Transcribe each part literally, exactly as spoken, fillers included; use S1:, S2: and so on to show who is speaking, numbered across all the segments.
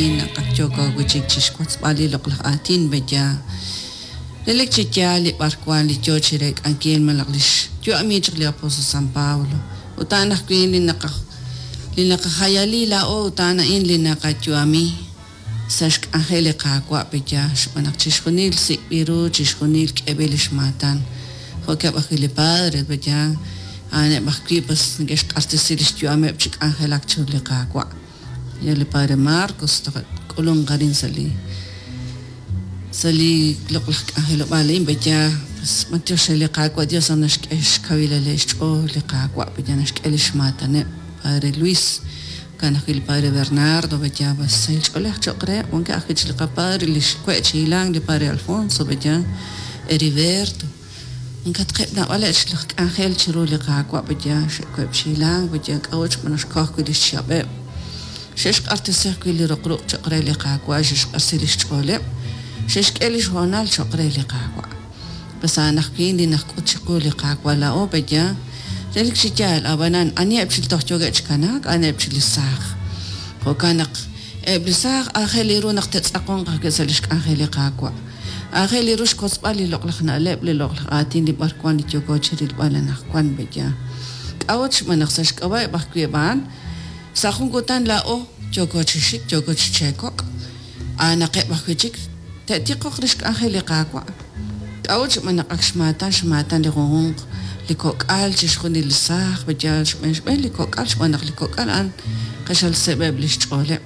S1: Naq ak yooko wi' chik chi xwotzb'al li loq'laj aatin b'eya relik chi yaal li b'arwan li yo chi reek'ankil malaj li xyu'ami chaq li apóstol San Pablo ut a'an ajwi' li naqaj li naqajayali laa'o ut a'an a'in li naqayu'ami sa' xk'anjel li Qaawa' peya xb'aan naq chixjunil sik'b'il ru chixjunil k'eb'il li xmaatan jo'keb' ajwi' li padre peya a'aneb' ajwi' pues neke'xq'axtesi li xyu'ameb' chi k'anjelak chiru li Qaawa' ya li padre Marcos toj k'ulunq arin sa' li sa' li loq'laj k'anjelob'aal a'in peya pues b'antiox re li Qaawa' Dios naq naxk'e xkawilal xch'ool li Qaawa' peya naxk'e li xmaataneb' padre Luis kan ajwi' li padre Bernardo peya pues sahil ch'oolej cho'q reheb' wankeb' ajwi' chi li qapadre li xwe' chi hilank li padre Alfonso peya Heriberto nkatqeb' naab'aleb' chi laj k'anjel chiru li Qaawa' peya xe'web' chi hilank peya k'a'ut xb'aan naq xkoj ajwi' li xchihab'eb' xe'xq'axtesi ajwi' li roq ruq' cho'q re li Qaawa' xe'xq'axtesi li xch'ooleb' xe'xk'e li xhoonal cho'q re li Qaawa' pues a'an ajwi' li najk'ut chiqu li Qaawa' laa'o peya relik chi yaal ab'anan aniheb' chi toj yookeb' chi kanaak a'aneb' chi li saaj jo'kan naq eb' li saaj aajel ru naq te'tz'aqonq ajwi' sa' li xk'anjel li Qaawa' aajel ru xkotzb'al li loq'laj na'leb' li loq'laj aatin li b'arwan li yooko chi rilb'al anaqwan peya k'a'ut xb'aan naq sa' xk'ab'a'eb' ajwi' a'an sa' jun kutan laa'o yooko chi xik yooko chi cheekok' a'anaqeb' ajwi' chik te'tiqoq li xk'anjel li Qaawa' k'a'ut xb'aan naq ak xmaatan xmaatan li junjunq li kok'al chixjunil li saaj peya xb'een xb'een li kok'al xb'aan naq li kok'al a'an q'axal seeb'eb' li xch'ooleb'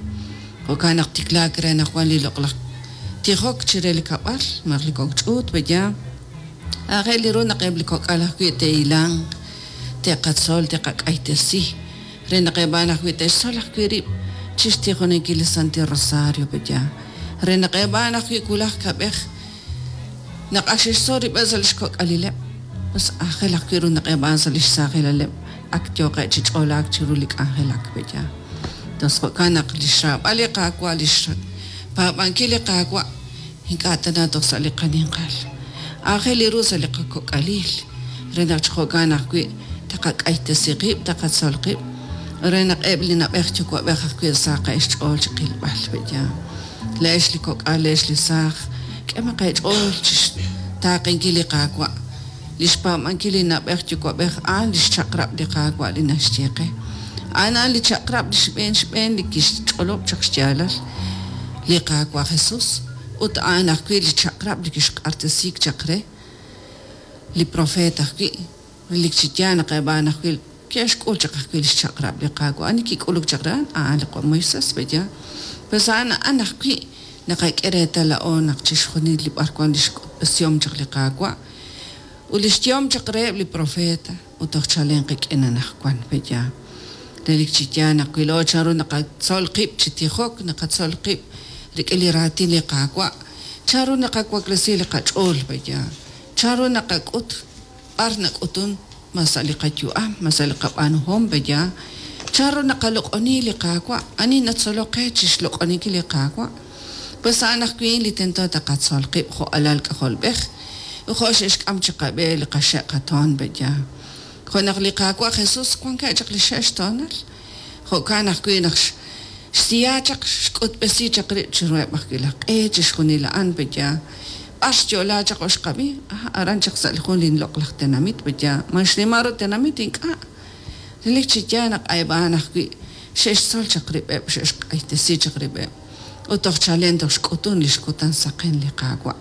S1: jo'kan naq tiklaak re naq wan li loq'laj tijok chire li kab'al malaj li kok' ch'uut peya aajel ru naq eb' li kok'al ajwi' te'hilanq te'qatzol te'qak'aytesi re naq eb' a'an ajwi' te'xtzol ajwi' rib' chi xtijoninkil li Santil Rosario peya re naq eb' a'an ajwi' wulaj kab'ej naq ak xe'xtzol rib'eb' sa' li xkok'alileb' pues aajel ajwi' ru naq eb' a'an sa' li xsaajilaleb' ak yooqeb' chi ch'oolaak chiru li k'anjelak peya tos jo'kan naq li xraab'al li Qaawa' li xpaab'ankil li Qaawa' ink'a' tana toj sa' li qaninqal aajel ru sa' li qakok'alil re naq chi jo'kan ajwi' taqak'aytesi qib' taqatzol qib' re naq eb' li na'b'ej yuwa'b'ej ajwi' saqeb' xch'ool chi qilb'al peya le'ex li kok'al le'ex li saaj k'emaq eech'ool chi xtaaqenkil li Qaawa' li xpaab'ankil li na'b'ej yuwa'b'ej a'an li xchaq'rab' li Qaawa' li naxye qe a'an a'an li chaq'rab' li xb'een xb'een li kixch'olob' chaq xyaalal li Qaawa' Jesús ut a'an ajwi' li chaq'rab' li kixq'axtesiik chaq re li profeet ajwi' relik chi yaal naq eb' a'an ajwi' ke'xk'ul chaq ajwi' li xchaq'rab' li Qaawa' ani kik'uluk chaq re a'an a'an li Moisés peya pues a'an a'an ajwi' naqak'e reetal laa'o naq chixjunil li b'arwan li xk'utb'esihom chaq li Qaawa' ut li xyehom chaq reheb' li profeta ut toj chalen qik'in anaqwan peya relik chi yaal naq wi laa'o chanru naqatzol qib' chi tijok naqatzol qib' rik'in li raatin li Qaawa' chanru naqawaklesi li qach'ool peya chanru naqak'ut b'ar nak'utun ma sa' li qayu'am ma sa' li qab'aanuhom peya chanru naqaloq'oni li Qaawa' ani natzolok qe chi xloq'oninkil li Qaawa' pues a'an ajwi' li tento taqatzol qib' jo' alal k'ajolb'ej jo' xe'xk'am chi qab'e li qaxe' qatoon peya jo' naq li Qaawa' Jesús wankeb' chaq li xe'xtoonal jo'kan ajwi' naq xsiya chaq xk'utb'esi chaq rib' chiruheb' ajwi' laj q'e chixjunil a'an peya b'ar xyo'la chaq oxqab'i aran chaq sa' li jun li loq'laj tenamit peya man xnimal ru tenamit ink'a' relik chi yaal naq eb' a'an ajwi' xe'xtzol chaq rib'eb' xe'xq'aytesi chaq rib'eb' ut toj chalen toj xk'utun li xkutan saqen li Qaawa'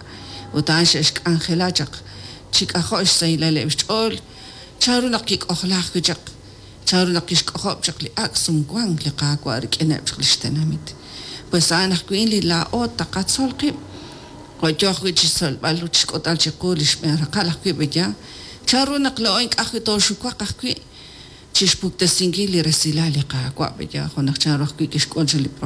S1: ut a'an xe'xk'anjela chaq chi k'ajo' xsahilaleb' xch'ool chanru naq kik'ojla ajwi' chaq chanru naq kixk'ojob' chaq li ak' sumwank li Qaawa' rik'ineb' chaq li xtenamit pues a'an ajwi' li laa'o taqatzol qib' jo' yo ajwi' chi xtzolb'al ut xk'utb'al chiqu li xb'een raqal ajwi' peya chanru naq laa'o ink'a' ajwi' tooxuwaq ajwi' chi xpuktesinkil li resilal li Qaawa' peya jo' naq chanru ajwi' kixk'ul chaq li